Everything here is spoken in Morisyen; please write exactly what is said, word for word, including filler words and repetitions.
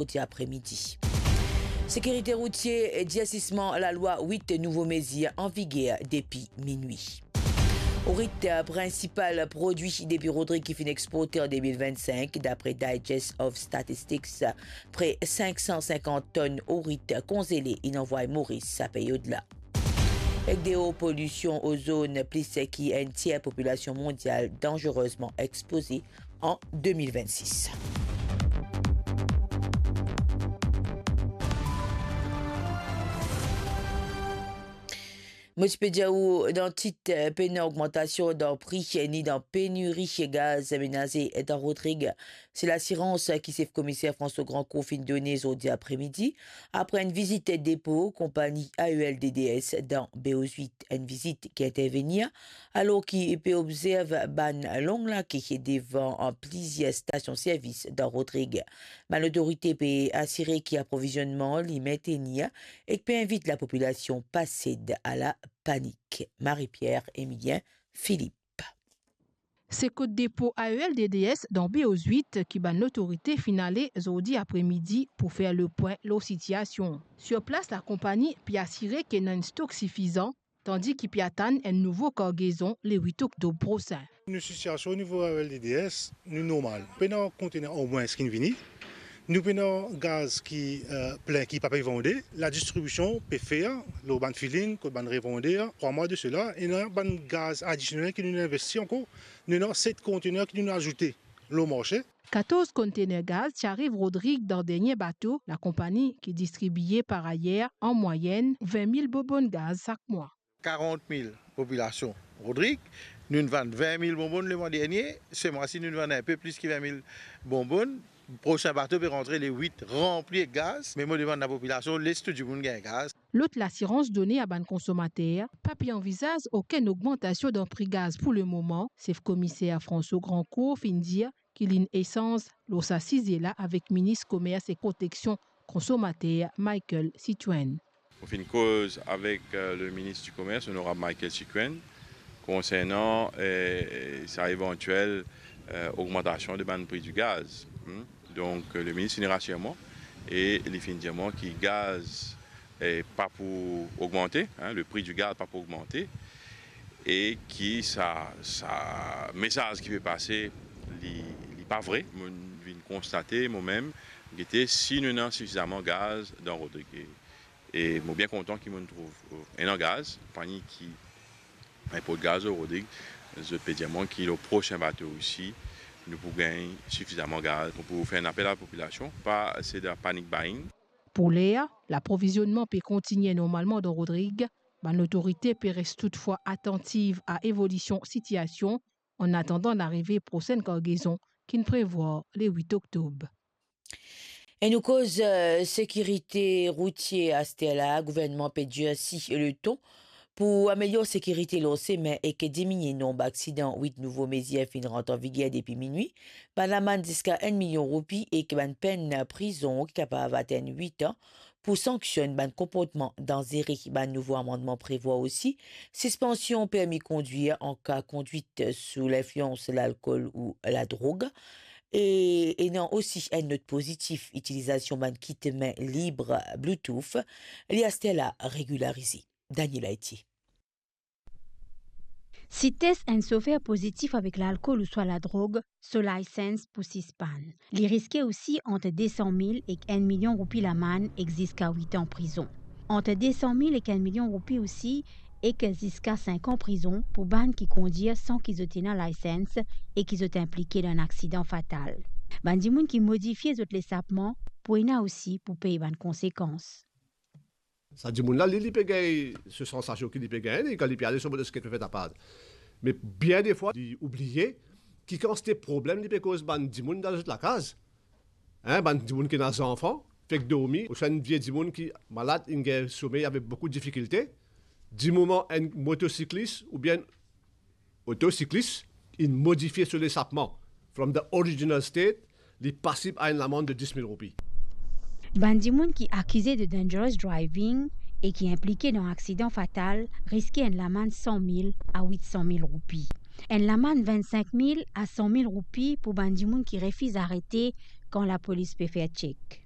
ozordi apremidi. Sekirite routie, dirsisman lalwa, wit nouvo mezir an viger depi minwi. Ourit, prinsipal prodwi depi Rodrig ki finn exporte an de mil vinn-sink, dapre Digest of Statistics, pre sink san sinkant tonn ourit konzele inn anvway Moris sa peryod la. Ek deor polision ozon, plis ki enn tier popilasion mondial danzerezman expoze an de mil vinn-sis. Mo ti pe dir ou dan tit, pena ogmantasion dan pri, ni dan peniri gaz menaze dan Rodrig. Se lasirans ki sef komiser François Grandcourt finn done zordi apremidi, apre enn vizit depo konpani A E L D D S dan Beau huit, enn vizit ki intervenir alor ki pe obzerv bann long lake devan plizier stasion servis dan Rodrig. Bann lotorite pe asire ki aprovizionman li mentenir ek pe invit lapopilasion pa sed a lapanik. Marie-Pierre Emilien Philippe. Se kot depo A E L D D S dan Beau huit ki bann lotorite finn ale zordi apremidi pou fer lepwin lor sitiasion. Sir plas, lakonpani pe asire ki ena enn stok sifizan, tandi ki pe atann enn nouvo kargezon le wit oktob prosin. Nou sitiasion onivo A E L D D S, nou normal. Pena kontener anmwins ki'nn vini. Nou pena gaz ki, eh, plin ki pa pe vande. Ladistribision pe fer lor bann filin kot bann revander. Trwa mwa de sela, ena bann gaz adisionel ki nou investi ankor. Nou ena set kontener ki nou azoute lor marse. Katorz kontener gaz ti ariv Rodrig dan dernie bato lakonpani ki distribie par ayer an mwayenn vin mil bonbonn gaz sak mwa. Karant mil popilasion Rodrig, nou'nn vann vin mil bonbonn lemwa dernie, se mwa si nou'nn vann inpe plis ki vin mil bonbonn. Prosin bato pe rantre le wit ranpli ek gaz, me mo demann lapopilasion, les tou dimoun gagn gaz. Lot lasirans done a bann konsomater, pa pe anvizaz okenn ogmantasion dan pri gaz pou lemoman, sef komiser François Grandcourt finn dir ki li'nn esanz lor sa size la avek Minis Komers ek Proteksion Konsomater Michaël Cituin. Mo finn koz avek, eh, le minis di Komers, onorab Michaël Cituin, konsernan, eh, sa evantiel, eh, ogmantasion de bann pri di gaz. Hmm? Donk, eh, le minis inn rasir mwa e li finn dir mwa ki gaz, eh, pa pou ogmante, hein, le pri di gaz pa pou ogmante, e ki sa, sa mesaz ki pe pase, li, li pa vre. Mo vinn konstate, mo mem, gete si nou ena sifizaman gaz dan Rodrig. E mo bien kontan ki mo'nn trouv, eh, ena gaz, konpani ki inport gaz lor Rodrig, zot pe dir mwa ki lor prosin bato osi, nou pou gagn sifizaman gaz. Mo pou fer enn apel a lapopilasion, pa sed a panic buying. Pou ler, laprovizionnman pe kontigne normalman dan Rodrig. Bann lotorite pe res toutfwa atantiv a evolision sitiasion, an atandan larive prosenn kargezon ki'nn prevwar le wit oktob. E nou koz, eh, sekirite routie aster la, gouvernman pe dirsi le ton pou amelior sekirite lor semin ek diminie nonb aksidan. Wit nouvo mezir finn rant an viger depi minwi. Bann lamann ziska enn milion roupi ek bann penn prizon ki kapav atenn wit an pou sanksionn bann konportman danzere. Bann nouvo amannman prevwar osi sispansion permi kondwir an ka kondwit sou linflians lalkol ou ladrog. E ena osi enn not pozitif, itilizasion bann kit min lib Bluetooth, li aster la regilarize. Daniel Aiti. Si tes enn sofer pozitif avek lalkol ouswa ladrog, so license pou sispann. Li riske osi ant de san mil ek enn milion roupi lamann ek ziska wit an prizon. Ant de san mil ek enn milion roupi osi ek ziska sink an prizon pou bann ki kondir san ki zot ena license e ki zot inplike dan enn aksidan fatal. Bann dimoun ki modifie zot lesapman pou ena osi pou pey bann konsekans. Sa dimoun la, li, li pe gagn so sansasion ki li pe gagn, li, kan li pe ale so motosiklet pe fer tapaz. Me bien defwa, li oubliye ki kantite problem li pe koz bann dimoun dan zot lakaz. Hein, bann dimoun ki ena zanfan, fek dormi, ouswa enn vie dimoun ki malad, inn gagn somey avek boukou difikilte. Dimoman enn motosiklis oubien otosiklis inn modifie so lesapman from the original state, li pasib a enn lamann de dis mil roupi. Bann dimoun ki akize de dangerous driving e ki inplike dan aksidan fatal riske enn lamann san mil a wit san mil roupi. Enn lamann vinn-sink mil a san mil roupi pou bann dimoun ki refiz arete kan lapolis pe fer tchek.